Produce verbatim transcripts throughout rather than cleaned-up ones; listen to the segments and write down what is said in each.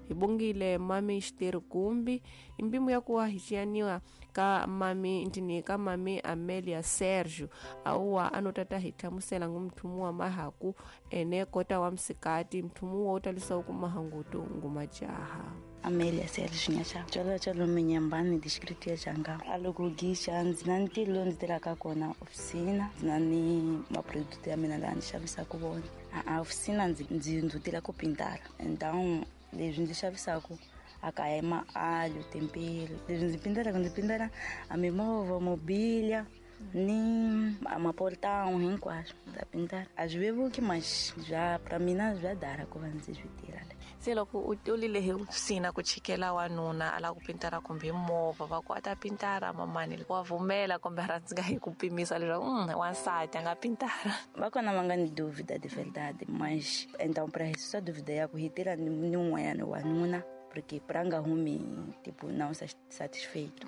Hi bongile mami Xiteri Gumbi imbimu ya kuwa hi xiyaniwa ka mami ntini ka mami Amelia Sergio awuwa anotata hi hlamusela ngumthumu wa mahaku ene kota wa msikati mthumu wa utalisa ku mahangutu ngumajaha. Amelia Sergio nyacha chalo chalo minyambani distrito ya Janga alokugisha nzina ntilo nzitiraka kona ofisina nzina ni maproduto ya mina la ndzi xavisaka vona a ofisina ndzi ndzi ndzutila ku pintara então leswi ndzi xavisaka a kaya ma-alho tempero leswi ndzi pintelaka ndzi pintela a mimovha mobília ni a maportão hinkwaswo ndza pintara a swi vevuki mas bya pra mina bya dara ku va ndzi swi tirha. Se loko u tulile hi ofisina ku chikela wanuna a lava ku pintara kumbe movha va ku a ta pintara mamani wa vumela kumbe a ndzi nga hi ku pimisa leswaku mm, wansati a nga pintara. Va kona va nga ni dúvida de verdade mas então pra isso só dúvida ya ku hi tirha ni ni un'wanyana wanuna porque pra nga humi tipo não satisfeito.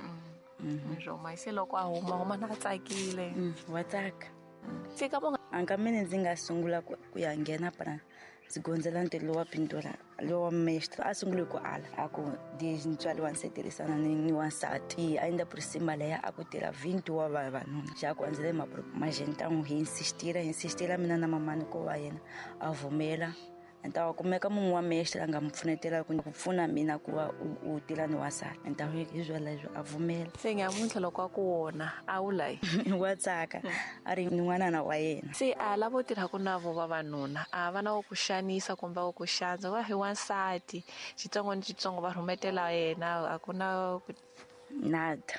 Mm. Mas se loko a huma huma na tsakile. Mm, wa tsaka. Se ka mo a nkameni ndzi nga sungula ku ya nghena pra ndzi gondzela ntirho lowa pintura lowa mestre a sungule ku ala a ku desde ntswalo wa ndzi tirhisana ni ni wansati ainda por cima leya a ku tirha vinte wa vavanuna xa ku andzele mas então hi insistira hi insistira mina na mamani ku va yena a vumela. Então kumeka munhu wa mestre a nga mi pfunetela ku pfuna mina ku va u tirha ni wansati então hi swoleswo a vumela. Se nyamuntlha loko a ku wona a wu layi wa tsaka a ri n'wanana wa yena. Se a lavo tirhaka na vo vavanuna a va na wo ku xanisa kumbe wo ku xandza va hi wansati xitsongo ni xitsongo va rhumetela yena a ku na nada.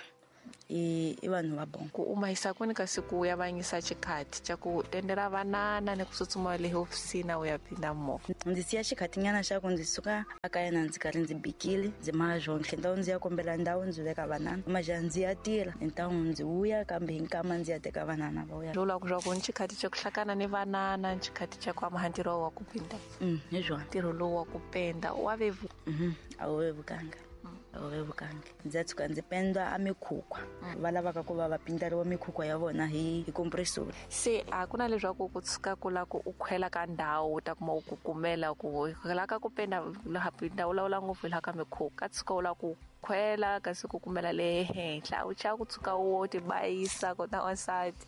I i vanhu va bon ku uma yisa kwini kasi ku ya vanyisa xikhati xa ku tendela vanana ni ku tsutsuma le hofisini u ya pinda movha. Ndzi siya xikhatinyana xa ku ndzi suka a kaya na ndzi karhi ndzi bikile ndzi maha swonhle ndhawu ndzi ya kombela ndhawu ndzi veka vanana maja ndzi ya tirha então ndzi vuya kambe hi nkama ndzi ya teka vanana va vuya. Lula ku swa ku ni xikhati xa ku hlakana ni vanana ni xikhati xa ku amaha ntirho wa ku pinda. Mm, hi swona ntirho lowu wa ku penda wa vevu. Mhm, a wu vevukanga. A wu vevukanga ndzi tshuka ndzi penda a mikhukhwa va lavaka ku va va pindariwa mikhukhwa ya vona hi hi compressor. Se a ku na leswaku ku tshuka ku la ku u khwela ka ndhawu u ta kuma u ku kumela ku la ka ku penda laha pinda u lawula ngopfu laha ka mikhukhwa ka tshuka u la ku khwela kasi ku kumela le henhla u chava ku tshuka u tibayisa kota wansati.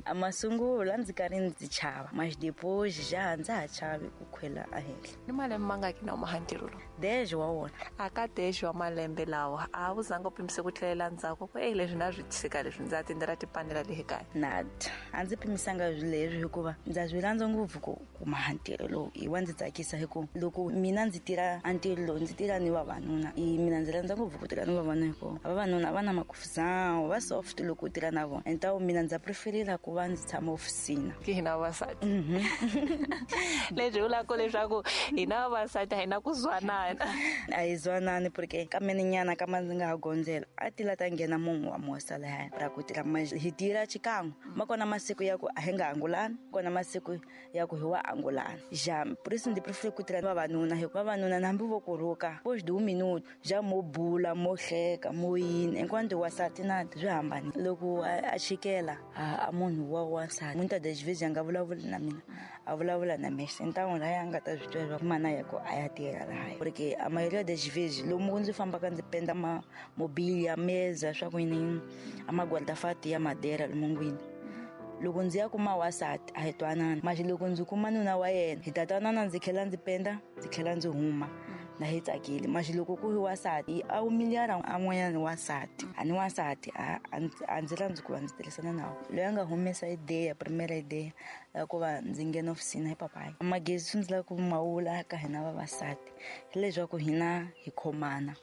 A masungulo ndzi karhi ndzi chava mas depois já ndza ha chavi ku khwela ahenhla. Ni malembe mangaki na umaha ntirho lowu? Dez wa wona. A ka dez wa malembe lawa a wu zanga u pimise ku tlhelela ndzhaku ku ei leswi na swi tshika leswi ndza tindlela tipanela lehi kaya? Nada a ndzi pimisanga leswi hikuva ndza swi rhandza ngopfu ku kuma ntirho lowu hi wa ndzi tsakisa hi ku loko mina ndzi tirha a ntirho lowu ndzi tirha ni vavanuna i mina ndzi rhandza ngopfu ku tirha ni vavanuna hikuva vavanuna va na makufuzao va soft loko u tirha na vona então mina ndza preferira ku va ndzi tshama ofisina. Ki hina vavasati. Leswi vulaka leswaku hina vavasati a hi na ku zwanana. A hi zwanani porque ka menenyana ka ma ndzi nga ha gondzela a ti la ta nghena munhu wa mosa lahaya ra ku tirha hi tirha xikan'we ma kona masiku ya ku a hi nga angulani kona masiku ya ku hi wa angulana ja por isso ndzi prefer ku tirha vavanuna hikuva vavanuna na hambi vo ku rhuka depois de um minuto já mo bula mo hleka mo yini enquanto wasati na swi hambanile loko a chikela a munhu wa wansati muitas das vezes a nga vulavuli na mina a vulavula na mestre então lahaya a nga ta swi twa leswaku mana ya ku a ya tirha lahaya porque a maioria das vezes lomu ndzi fambaka ndzi penda ma mobília mesa swa ku yini a maguarda-fato ya madeira lumungwini loko ndzi ya kuma wansati a hi twanana mas loko ndzi kuma nuna wa yena hi ta twanana ndzi tlhela ndzi penda ndzi tlhela ndzi huma na hi tsakile mas loko ku hi wansati a humiliara a n'wanyana wansati a ni wansati a ndzi rhandzi ku va ndzi tirhisana na wona loyi a nga humesa ideya primera ideya ya ku va ndzi nghena ofisini hi papayi magezi swi ndzi lava ku mawula ka hina vavasati hileswaku hina hi khomana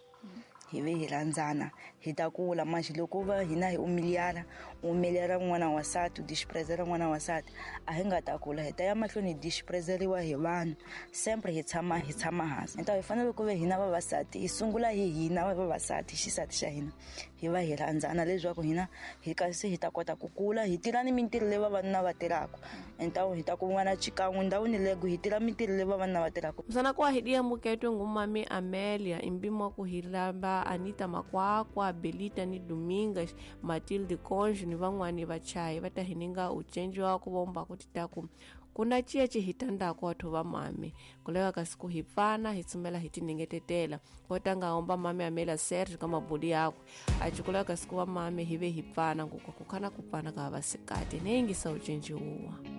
hi ve hi rhandzana hi ta kula mas loko va hina hi humiliara u humiliara n'wana wansati u disprezera n'wana wansati a hi nga ta kula hi ta ya mahlweni hi disprezeriwa hi vanhu sempre hi tshama hi tshama hansi então hi fanele ku ve hina vavasati hi sungula hi hina vavasati xisati xa hina hi va hi rhandzana leswaku hina hi kasi hi ta kota ku kula hi tirha ni mintirho leyi vavanuna va tirhaka então hi ta kun'wana xikan'we ndhawini lego hi tirha mintirho leyi vavanuna va tirhaka. Msana kwa hidia muketwe ngumami Amelia imbimo ku hilamba Anita Makwakwa Belita ni Domingas Matilde Conjo ni van'wani vachayi va ta hininga ucenji wa ku vomba ku titaku Kuna ciya ci hi tandako wathu va mami kuleka kasi ku hi pfana hi tsumela hi tiningetetela kotanga omba mami Amelia Sergio ka mabuli yakwe aci kuleka kasi ku va mami hi ve hi pfana ngukwa kukhana ku pfana ka vasikati ni yingisa ucinciwa.